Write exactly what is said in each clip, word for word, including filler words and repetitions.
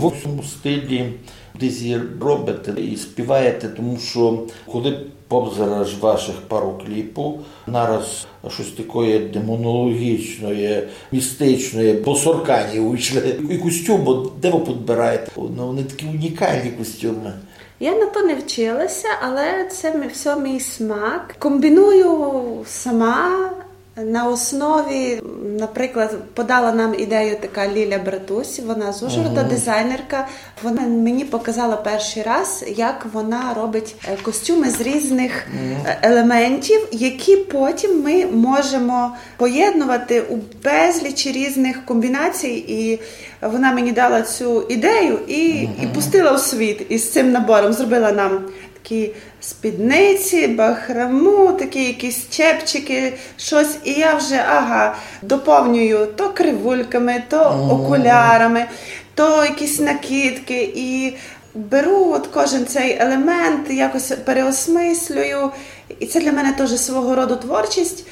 В цьому стилі десь і робите і співаєте, тому що коли позираєш ваших пару кліпів, нараз щось таке демонологічне, містичне, босоркані вийшли. І костюм, де ви підбираєте? Ну, вони такі унікальні костюми. Я на то не вчилася, але це мі- все мій смак. Комбіную сама на основі, наприклад, подала нам ідею така Ліля Братусь, вона з Ужгорода, дизайнерка. Вона мені показала перший раз, як вона робить е, костюми з різних е, елементів, які потім ми можемо поєднувати у безлічі різних комбінацій. І вона мені дала цю ідею і, і пустила у світ із цим набором. Зробила нам такі спідниці, бахрому, такі якісь чепчики, щось. І я вже, ага, доповнюю то кривульками, то окулярами, то якісь накидки. І беру от кожен цей елемент, якось переосмислюю. І це для мене теж свого роду творчість.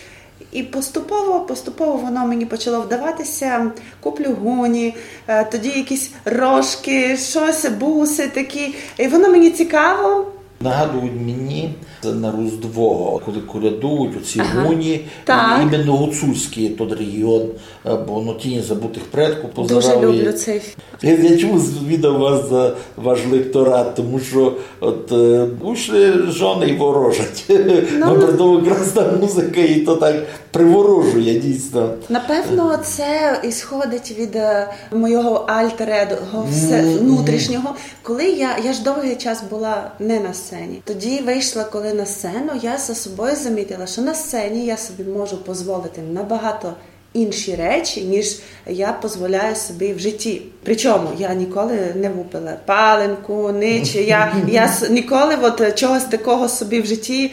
І поступово, поступово воно мені почало вдаватися. Куплю гуні, е, тоді якісь рожки, щось, буси такі. І воно мені цікаво. Нагадують мені це на Різдво, коли колядують оці гуні, Так. Іменно гуцульський тот регіон, е, бо воно тіні забутих предків Дуже позирав і- люблю цей. Я, я чому звідав вас за ваш лекторат, тому що от е, вийшли жони і ворожать. Ну, притому якраз та музика і то так приворожує дійсно. Напевно, це ісходить від е, моєго альтер-его все внутрішнього. Коли я, я ж довгий час була не на сцені. Тоді вийшла, коли на сцену, я за собою замітила, що на сцені я собі можу дозволити набагато інші речі, ніж я дозволяю собі в житті. Причому я ніколи не випила паленку, нич. Я, я с- ніколи от чогось такого собі в житті,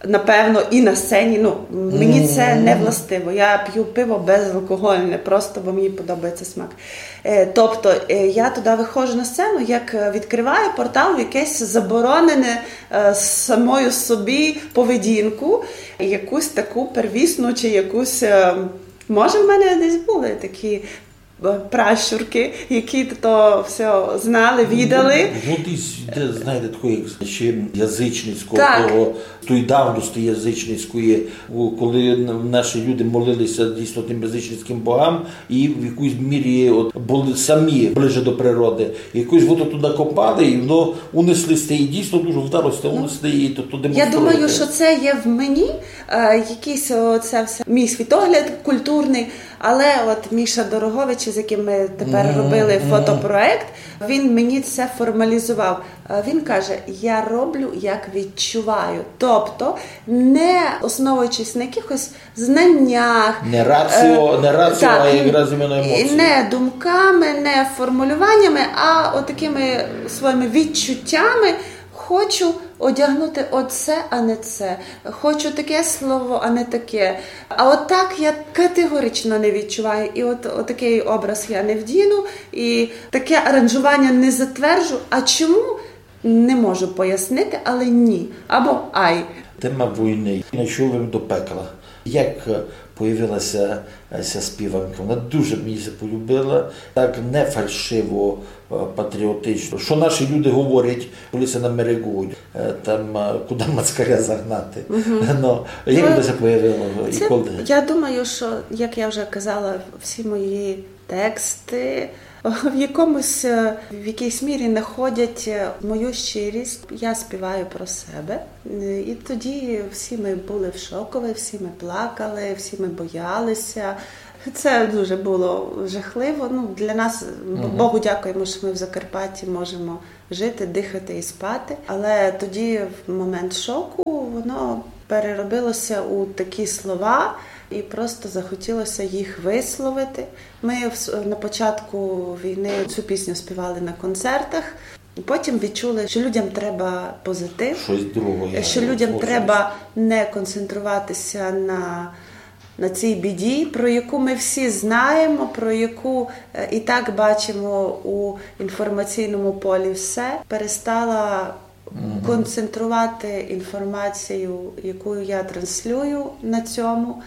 напевно, і на сцені. Ну, мені це не властиво. Я п'ю пиво безалкогольне, просто бо мені подобається смак. Е, Тобто е, я туди виходжу на сцену, як е, відкриваю портал в якесь заборонене е, самою собі поведінку, якусь таку первісну чи якусь. е, Може, в мене десь були такі е, пращурки, які то все знали, відали. Ну, десь, де, знаєте, такої ще язичницького Так. Того, тої давності язичницької, у- коли н- наші люди молилися дійсно тим язичницьким богам, і в якійсь мірі от були самі ближе до природи. Якось воно туди копали, і воно унесли сте, і дійсно дуже вдалося унесли, і то, то Я демонструєте. Думаю, що це є в мені, е, якийсь о, це все мій світогляд культурний. Але от Міша Дорогович, з яким ми тепер робили фотопроект, він мені це формалізував. Е, Він каже: я роблю, як відчуваю. Тобто, не основуючись на якихось знаннях, Не раціо, е, не раціо, так, а якраз іменно і емоції. Не думками, не формулюваннями, а отакими своїми відчуттями. Хочу одягнути оце, а не це. Хочу таке слово, а не таке. А от так я категорично не відчуваю. І от, от такий образ я не вдіну, і таке аранжування не затверджу. А чому? Не можу пояснити, але ні. Або ай. Тема війни. Найшов им до пекла. Як е, появилася е, ця співанка? Вона дуже мені ся полюбила, так не фальшиво, е, патріотично. Що наші люди говорять, коли ся намерегують, е, там, е, куди мацкаря загнати. Ну, як Ну, вона ся появила і Це, коли? Я думаю, що, як я вже казала, всі мої тексти в якомусь, е, в якійсь мірі знаходять е, мою щирість. Я співаю про себе. Е, І тоді всі ми були в шокові, всі ми плакали, всі ми боялися. Це дуже було жахливо. Ну, для нас, бо- Богу дякуємо, що ми в Закарпатті можемо жити, дихати і спати. Але тоді, в момент шоку, воно переробилося у такі слова, і просто захотілося їх висловити. Ми вс- на початку війни цю пісню співали на концертах. Потім відчули, що людям треба позитив, Щось друге. що людям треба не концентруватися на, на цій біді, про яку ми всі знаємо, про яку е, і так бачимо у інформаційному полі все. Перестала концентрувати інформацію, яку я транслюю на цьому.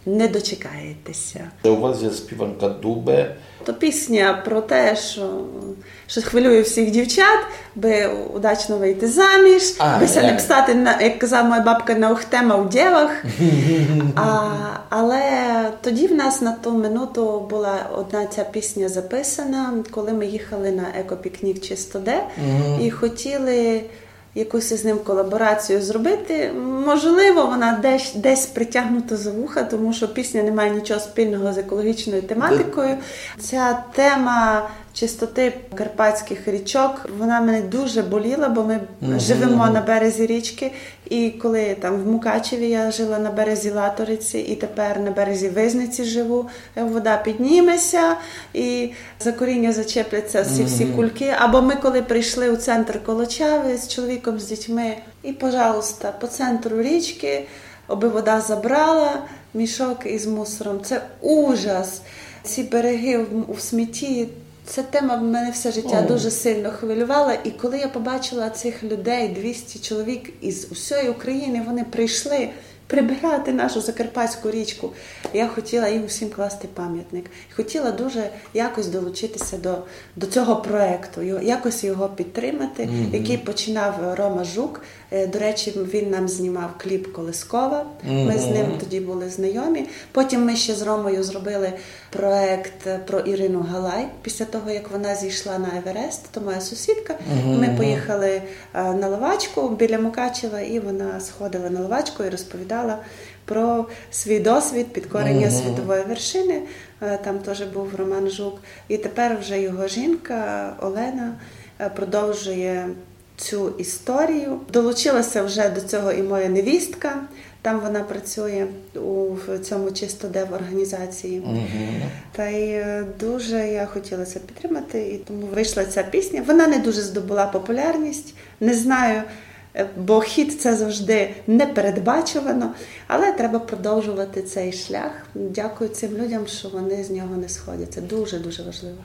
не дочекаєтеся. У вас є співанка Дубе. То пісня про те, що, що хвилює всіх дівчат, би удачно вийти заміж, А, би ся не е. псати, на, як казала моя бабка, на ухтема у дівах. А, але тоді в нас на ту минуту була одна ця пісня записана, коли ми їхали на екопікнік Чистоде і хотіли якусь із ним колаборацію зробити. Можливо, вона десь, десь притягнута за вуха, тому що пісня не має нічого спільного з екологічною тематикою. Ця тема чистоти карпатських річок, вона мене дуже боліла, бо ми живемо на березі річки. І коли там в Мукачеві я жила на березі Латориці, і тепер на березі Визниці живу, е, вода підніметься, і за коріння зачепляться всі, всі кульки. Або ми, коли прийшли у центр Колочави з чоловіком, з дітьми, і, пожалуйста, по центру річки, аби вода забрала, мішок із мусором. Це ужас. Ці береги в, у смітті. Ця тема мене все життя дуже сильно хвилювала. І коли я побачила цих людей, двісті чоловік із усієї України, вони прийшли прибирати нашу Закарпатську річку. Я хотіла їм усім класти пам'ятник. Хотіла дуже якось долучитися до, до цього проєкту, його, якось його підтримати, який починав Рома Жук. Е, до речі, він нам знімав кліп Колискова. Ми з ним тоді були знайомі. Потім ми ще з Ромою зробили проєкт про Ірину Галай. Після того, як вона зійшла на Еверест, то моя сусідка. Ми поїхали е, на Ловачку біля Мукачева, і вона сходила на Ловачку і розповідала про свій досвід підкорення світової вершини. Е, Там теж був Роман Жук. І тепер вже його жінка Олена е, продовжує цю історію. Долучилася вже до цього і моя невістка. Там вона працює у в цьому Чистоде в організації. Та й е, дуже я хотіла це підтримати, і тому вийшла ця пісня. Вона не дуже здобула популярність. Не знаю, е, бо хіт — це завжди непередбачувано, але треба продовжувати цей шлях. Дякую цим людям, що вони з нього не сходять. Це дуже-дуже важливо.